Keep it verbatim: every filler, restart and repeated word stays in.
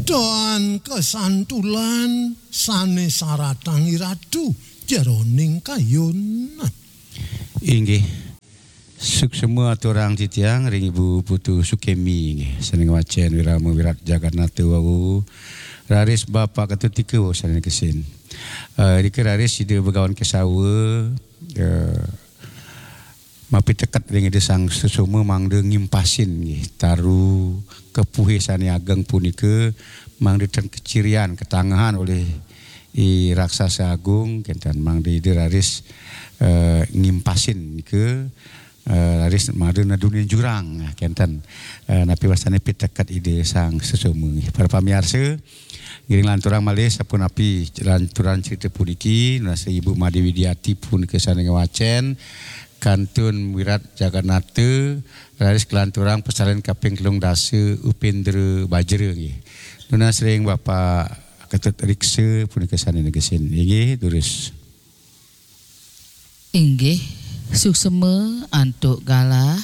Doan kesantulan sane saratang iratu jeroning kayun. Inggih. Suksema aturang titiang ring Ibu Putu Sukemi nggih, sane ngwacen wirama Wirat Jagatnata wau. Raris Bapak Ketut Tika wau sane kesin. Eh, rika raris Ida Begawan Kesawa, eh, mapiteket ring Ida Sang Sesoma mangda ngimpasin nggih taru kepuhe sane ageng punika mangda ten kecirian, ketanggahan olih I Raksasa Agung, kenten mangda Ida raris, eh, ngimpasin nika, eh, raris mangda nadunin jurang, nah, kenten, eh, napi wastane piteket Ida Sang Sesoma nggih. Para pamiarsa, ngiring lanturang malih sapunapi lanturan cerita puniki, nunas Ibu Made Widiati punika sane ngwacen, kantun Wirat Jagatnata, raris kalanturang pesalen kaping telung dasa Upendra Bajra nggih. Nunas ring Bapak Ketut Riksa punika sane negesin. Inggih, durus. Inggih, suksema antuk galah